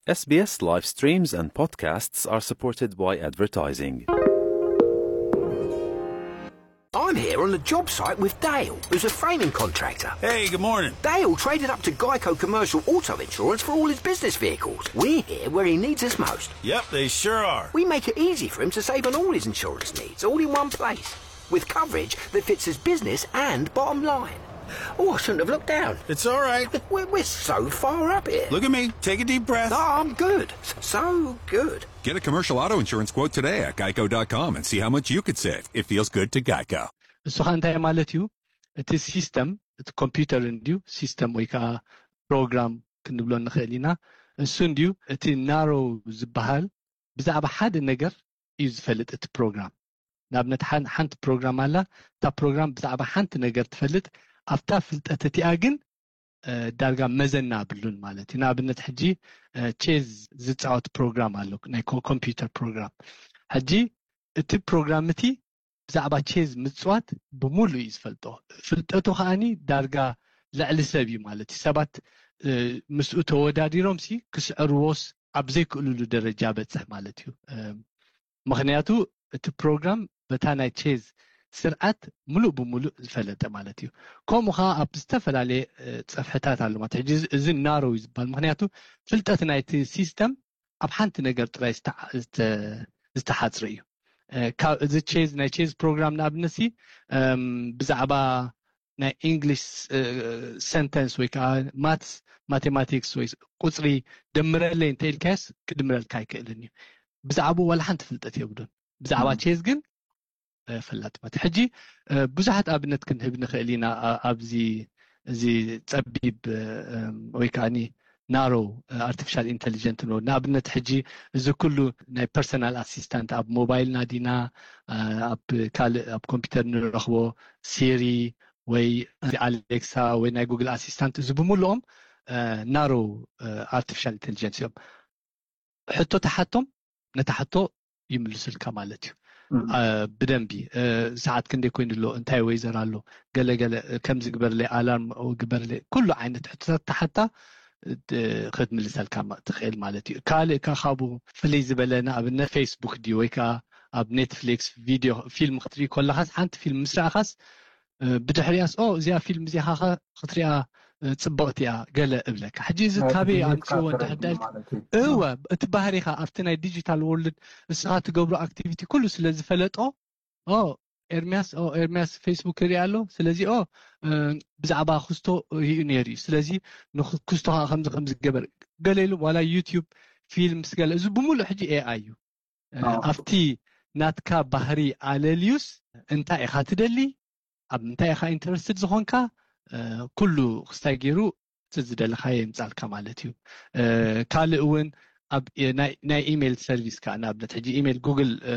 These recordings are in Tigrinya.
S B S live streams and podcasts are supported by advertising. I'm here on the job site with Dale, who's a framing contractor. Hey, good morning. Dale traded up to Geico Commercial Auto Insurance for all his business vehicles. We're here where he needs us most. Yep, they sure are. We make it easy for him to save on all his insurance needs, all in one place, with coverage that fits his business and bottom line. Oh, I shouldn't have looked down. It's all right. We're, we're so far up here. Look at me. Take a deep breath. No, I'm good. S- So good. Get a commercial auto insurance quote today at geico dot com and see how much you could save. It feels good to Geico. እሱ ኸ እንታይ ማለት እዩ? እቲ ሲስተም፣ እቲ ኮምፒውተር እንድዩ፣ ሲስተም ወይ ከዓ ፕሮግራም ክንብሎ ንኽእል ኢና። እሱ እንድዩ እቲ ናሮ ዝበሃል፣ ብዛዕባ ሓደ ነገር እዩ ዝፈልጥ እቲ ፕሮግራም። ንኣብነት ሓን- ሓንቲ ፕሮግራም ኣላ። እታ ፕሮግራም ብዛዕባ ሓንቲ ነገር ትፈልጥ፣ ኣብታ ፍልጠት እቲኣ ግን እ፣ ዳርጋ መዘና ኣብሉን ማለት እዩ። ንኣብነት ሕጂ እ፣ ቼዝ ዝፃወት ፕሮግራም ኣሎ፣ ናይ ኮ- ኮምፒውተር ፕሮግራም። ሕጂ እቲ ፕሮግራም እቲ ብዛዕባ ቼዝ ምፅዋት ብምሉእ እዩ ዝፈልጦ። ፍልጠቱ ከዓኒ ዳርጋ ልዕሊ ሰብ እዩ ማለት እዩ። ሰባት እ፣ ምስኡ ተወዳዲሮም ሲ ክስዕርዎስ ኣብ ዘይክእልሉ ደረጃ በፅሕ ማለት እዩ። እ፣ ምኽንያቱ እቲ ፕሮግራም በታ ናይ ቼዝ ስርዓት ሙሉእ ብሙሉእ ዝፈለጠ ማለት እዩ። ከምኡ ከዓ ኣብ ዝተፈላለየ እ፣ ፀፍሕታት ኣሎ ማለት። ሕጂ እዚ- እዚ ናሮ እዩ ዝበሃል፣ ምክንያቱ ፍልጠት ናይቲ ሲስተም ኣብ ሓንቲ ነገር ጥራይ ዝተዓ- ዝተ- ዝተሓፅረ እዩ። እ፣ ካብ እዚ ቼዝ፣ ናይ ቼዝ ፕሮግራም ንኣብነት ሲ እም፣ ብዛዕባ ናይ ኢንግሊሽ ሰንተንስ ወይ ከዓ ማትስ፣ ማቴማቲክስ ወይ ቁፅሪ ደምረለይ እንተ ኢልካዮስ ክድምረልካ ኣይክእልን እዩ። ብዛዕባኡ ዋላ ሓንቲ ፍልጠት የብሉን። ብዛዕባ ቼዝ ግን እ፣ ፈላጥ ማለት። ሕጂ እ፣ ብዙሓት ኣብነት ክንህብ ንኽእል ኢና። ኣ- ኣብዚ እዚ ፀቢብ እ፣ እም፣ ወይ ከዓኒ ናሮ ኣርቲፊሻል ኢንቴሊጀንት ንብል። ንኣብነት ሕጂ እዚ ኩሉ ናይ ፐርሰናል ኣሲስታንት ኣብ ሞባይልና ዲና እ፣ ኣብ ካልእ ኣብ ኮምፒውተር ንረኽቦ ሲሪ ወይ ኣሌክሳ ወይ ናይ ጉግል ኣሲስታንት፣ እዚ ብምልኦም ናሮ ኣርቲፊሻል ኢንቴሊጀንስ እዮም። ሕቶ ተሓቶም፣ ነታ ሕቶ ይምልሱልካ ማለት እዩ። እ፣ ብደንቢ እ፣ ሰዓት ክንደይ ኮይኑ ኣሎ፣ እንታይ ወይዘር ኣሎ፣ ገለ ገለ እ፣ ከምዚ ግበርለይ፣ ኣላርም ግበርለይ፣ ኩሉ ዓይነት ሕቶታት ተሓታ እ፣ ክትምልሰልካ ማ- ትኽእል ማለት እዩ። ካልእ ከ ካብኡ ፍልይ ዝበለ ንኣብነት ፌስቡክ ድዩ ወይ ከዓ ኣብ ኔትፍሊክስ ቪድዮ ፊልም ክትርኢ ከለኻስ፣ ሓንቲ ፊልም ምስ ረኣኻስ እ፣ ብድሕሪያስ ኦ እዚኣ ፊልም እዚኣ ኸ ክትሪኣ እ፣ ፅብቕቲ እያ ገለ እብለካ። ሕጂ እዚ ናይ ካበይ ክፍሊት ኣምፅዎ እንድሕር ካራክተር ዳልክ ማለት እዩ። እወ፣ እቲ ባህሪኻ ኣብቲ ናይ ዲጂታል ወርልድ እስኻ ትገብሮ ኣክቲቪቲ ኩሉ ስለ ዝፈለጦ፣ ኦ ኤርሚያስ ኦ ኤርሚያስ ፌስቡክ ይርኢ ኣሎ፣ ስለዚ ኦ እ፣ ብዛዕባ ክስቶ ይኡ ነይሩ እዩ፣ ስለዚ ንክ- ክስቶ ከዓ ከምዚ ከምዚ ገበር ገለ ኢሉ። ዋላ ዩቲዩብ ፊልምስ ገለ፣ እዚ ብምሉእ ሕጂ ኤኣይ እዩ። እ፣ ኣብቲ ናትካ ባህሪ ኣለልዩስ እንታይ ኢኻ ትደሊ፣ ኣብ ምንታይ ኢኻ ኢንተረስትድ ዝኾንካ እ፣ ኩሉ ክስታይ ገይሩ እቲ ዝደለኻዮ የምፃልካ ማለት እዩ። እ፣ ካልእ እውን ኣብ እ፣ ናይ- ናይ ኢሜይል ሰርቪስ ከዓ ንኣብነት ሕጂ ኢሜይል ጉግል እ፣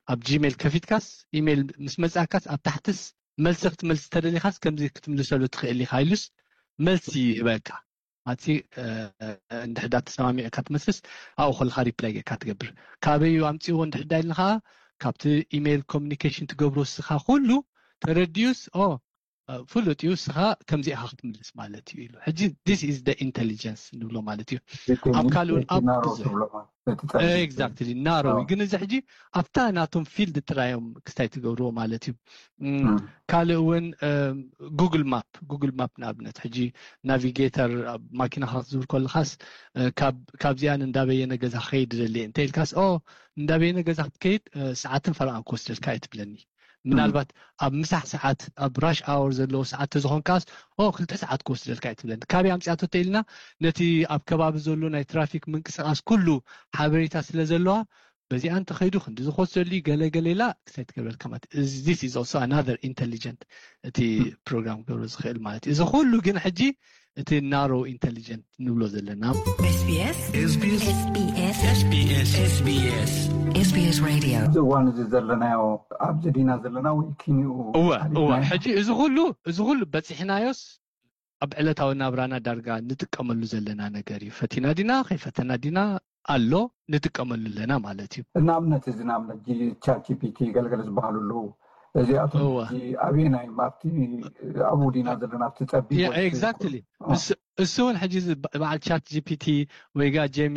ኣብ ጂሜይል ከፊትካስ ኢሜይል ምስ መፃካስ ኣብ ታሕትስ መልሲ ክትመልስ ተደሊኻስ ከምዚ ክትምልሰሉ ትኽእል ኢኻ ኢሉስ መልሲ ይህበካ። ኣቲ እንድሕዳ ተሰማሚዕካ ትመስልስ ኣብኡ ከለካ ሪፕላይ ጌርካ ትገብር። ካበዩ ኣምፅዎ እንድሕዳ ኢልና ከዓ ካብቲ ኢሜይል ኮሚኒኬሽን ትገብሮ እስኻ ኩሉ ተረዲዩስ ኦ ፍሉጥ እዩ፣ እስኻ ከምዚ ኢኻ ክትምልስ ማለት እዩ ኢሉ። ሕጂ this is the intelligence ንብሎ ማለት እዩ። ኣብ ካልእ እውን ኣብ ብዙሕ ኤግዛክትሊ ናሮ እዩ። ግን እዚ ሕጂ ኣብታ ናቶም ፊልድ ጥራዮም ክስታይ ትገብርዎ ማለት እዩ። ካልእ እውን ጉግል ማፕ ጉግል ማፕ ንኣብነት ሕጂ ናቪጌተር ኣብ ማኪናኻ ክትዝውር ከለኻስ ካብዚኣን እንዳበየነ ገዛ ክኸይድ ደልየ እንተ ኢልካስ ኦ እንዳበየነ ገዛ ክትከይድ ሰዓትን ፈረቓን ክወስደልካ እየ ትብለኒ። ምናልባት ኣብ ምሳሕ ሰዓት ኣብ ራሽ ኣወር ዘለዎ ሰዓት ተዝኾንካስ ኦ ክልተ ሰዓት ክወስደልካ እየ ትብለኒ። ካበይ ኣምፅኣቶ ተኢልና ነቲ ኣብ ከባቢ ዘሎ ናይ ትራፊክ ምንቅስቃስ ኩሉ ሓበሬታ ስለ ዘለዋ በዚኣ እንተኸይዱ ክንዲ ዝኮስ ዘሉ ገለ ገለ ኢላ ክሳይ ትገብረልካ ማለት this is also another intelligent እቲ ፕሮግራም ክገብሮ ዝኽእል ማለት እዩ። እዚ ኩሉ ግን ሕጂ እቲ ናሮ ኢንቴሊጀንት ንብሎ ዘለና SBS SBS SBS SBS Radio እዚ እዋን እዚ ዘለናዮ ኣብዚ ዲና ዘለና ወይ ኪንኡ እወ እወ ሕጂ እዚ ኩሉ እዚ ኩሉ በፂሕናዮስ ኣብ ዕለታዊ ናብራና ዳርጋ ንጥቀመሉ ዘለና ነገር እዩ። ፈቲና ዲና ከይፈተና ዲና ኣሎ ንጥቀመሉ ኣለና ማለት እዩ። ንኣብነት እዚ ንኣብነት ቻት ጂፒቲ ገልገለ ዝበሃሉ ኣለዉ። እዚኣቶም ሕጂ ኣበየናይ ኣብቲ ኣብኡ ዲና ዘለና ኣብቲ ጸቢብ ኤግዛክትሊ እሱ እውን ሕጂ በዓል ቻት ጂፒቲ ወይ ጋ ጀሚ